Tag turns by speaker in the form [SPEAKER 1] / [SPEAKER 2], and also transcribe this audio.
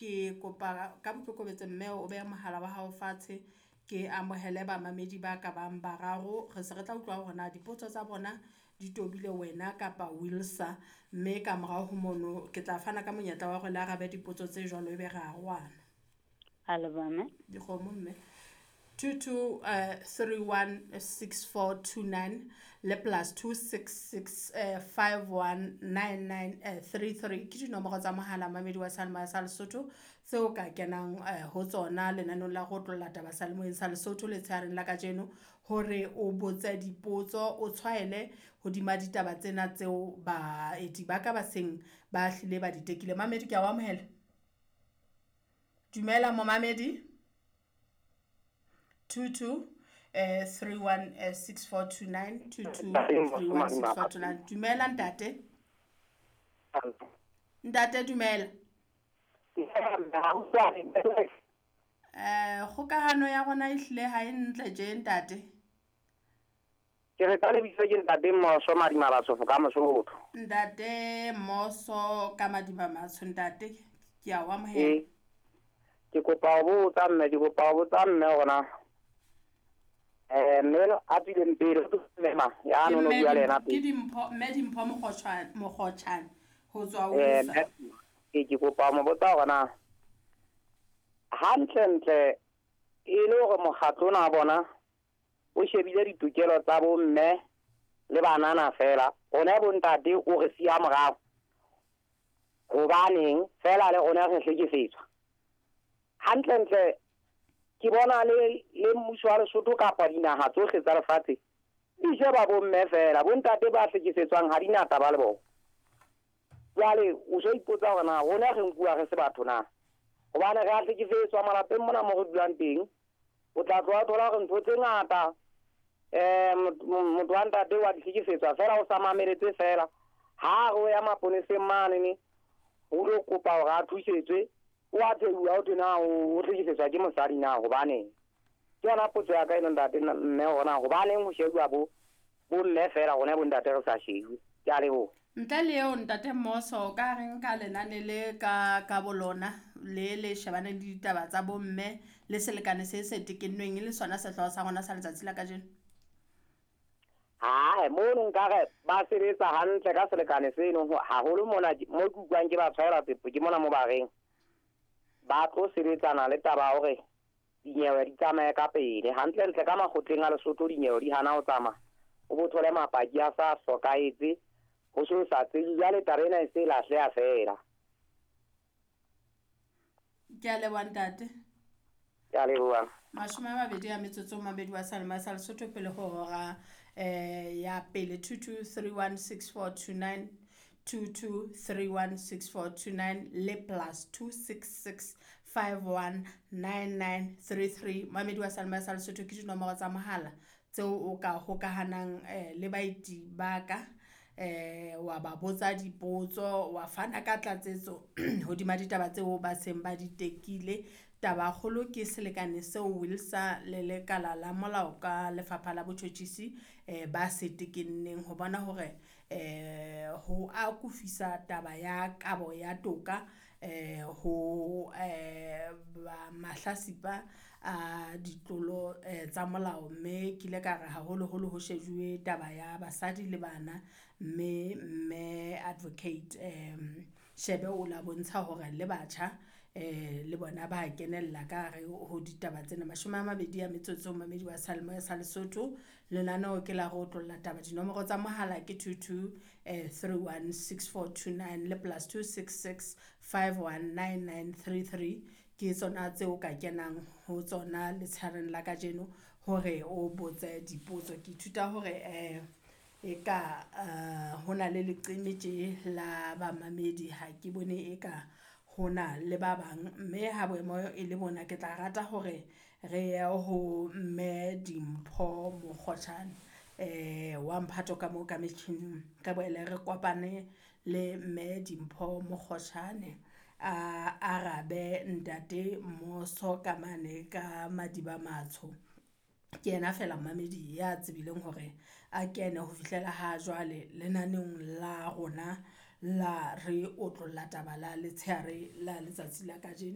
[SPEAKER 1] Ke kopa ka boikokobetso mme o behe mohala wa hao fatshe ke amohele bamamedi ba ka bang bararo, re se re tla utlwa hore na dipotso tsa bona di tobile wena kapa WILSA, mme ka morao ho mono ke tla fana ka monyetla wa hore le arabe dipotso tse jwalo ebe re arohana. Dikgomo mme 22 31 6429 le +266 51 99 33 ke dinomoro tsa mohala mamedi wa seyalemoya sa Lesotho tseo ka kenang ho tsona lenaneong la ho otlolla taba seyalemoyeng sa Lesotho letshehareng la kajeno hore o botse dipotso o tshwaele hodima ditaba tsena tseo baeti ba ka ba seng ba hlile ba di tekile. Mamedi ke a o amohela. Dumela momamedi. 22 31 6429 22 31 6429. Dumela ntate. Ntate dumela. Kgokahano ya rona e hlile ha e ntle tje ntate.
[SPEAKER 2] Ke re ka lebitso ke ntate Moso Madima Batsofo ka Mosotho.
[SPEAKER 1] Ntate Moso ka Madima Matsho ntate ke a o amohela.
[SPEAKER 2] Ke kopa ho botsa mme, ke kopa ho botsa mme hore na mme a tswileng pele mme ya no no bua le yena
[SPEAKER 1] pele. Ke Dimpho, mme Dimpho Mokgotjhane ho tswa WILSA.
[SPEAKER 2] Ke kopa mo botsa hore na hantle ntle e le hore mokgatlo ona bona o shebile ditokelo tsa bomme le banana fela, rona bontate o re siya morao. Hobaneng fela le rona re hlekefetswa. Hantle ntle ke bona le mmuso wa Lesotho kapa dinaha tsohle tsa lefatshe di sheba bomme fela, bontate ba hlekefetswang ha di na taba le bona. Jwale o so ipotsa hore na rona re nkuwa re se batho na, hobane re a hlekefetswa malapeng mona mo re dulang teng. O tla tloha thola hore ntho tse ngata motho wa ntate wa di hlekefetswa fela, o sa mameletse fela. Ha re ya maponeseng mane o lo kopa hore a thusetswe, o a theoha o thwe na o hlekefetswa ke mosadi na, hobaneng? Ke yona potso ya ka eno ntate mme, hore na hobaneng ho shebuwa bo mme fela, rona bontate re sa shejwe. Ke a leboha.
[SPEAKER 1] Ntle le eo ntate Moso, ka reng ka lenane le ka bolona le shebane le ditaba tsa bomme le selekane se se tekennweng e le sona sehlooho sa rona sa letsatsi la kajeno?
[SPEAKER 2] Hae, mono nkare ba sebetsa hantle ka selekane seno haholo mona mo ke utlwang ke ba tshwaela tsepo ke mona mo ba reng ba tlo sebetsana le taba hore dinyewe di tsamaye ka pele. Hantle ntle ka makgotleng a Lesotho dinyewe di hana ho tsamaya, o bo thole mapaki a sa hlokahetse, ho so sa tsebe. Jwale taba ena e se lahleha fela.
[SPEAKER 1] Ke a leboha ntate.
[SPEAKER 2] Ke a leboha.
[SPEAKER 1] 20 a metsotso mamedi wa seyalemoya sa Lesotho pele ho hora ya pele. 22316429 22316429 le +266 519933. Mamedi wa seyalemoya sa Lesotho ke dinomoro tsa mohala tseo o ka hokahanang le baeti ba ka, wa ba botsa dipotso, wa fana ka tlatsetso hodima ditaba tseo ba seng ba di tekile. Taba kgolo ke selekane seo WILSA le lekala la molao ka lefapha la botjhotjhisi ba se tekenneng ho bona hore ho akofisa taba ya kabo ya toka ho mahlasipa a ditlolo tsa molao. Mme ke ile ka re haholoholo ho shejuwe taba ya basadi le bana, mme advocate Shebe o la bontsha hore le batjha le bona ba kenella ka hare ho ditaba tsena. 20 a metsotso mamedi wa seyalemoya sa Lesotho, lenaneo ke la ho otlolla taba. Dinomoro tsa mohala ke 22 316429 le +266 519933 ke tsona tseo ka kenang ho tsona letshareng la kajeno hore o botse dipotso. Ke ithuta hore e ka hona le leqeme tje la bamamedi, ha ke bone e ka hona le ba bang, mme ha boemo e le bona ke tla rata hore re ye ho mme Dimpho Mokgotjhane wa mphato ka moo ka metjhining, re boele re kopane le mme Dimpho Mokgotjhane a arabe ntate Moso ka mane ka Madiba Matsho. Ke yena fela mamedi ya tsebileng hore a kene ho fihlela ha jwale lenaneong la rona la Re Otlolla Taba la letshehare la letsatsi la kajeno.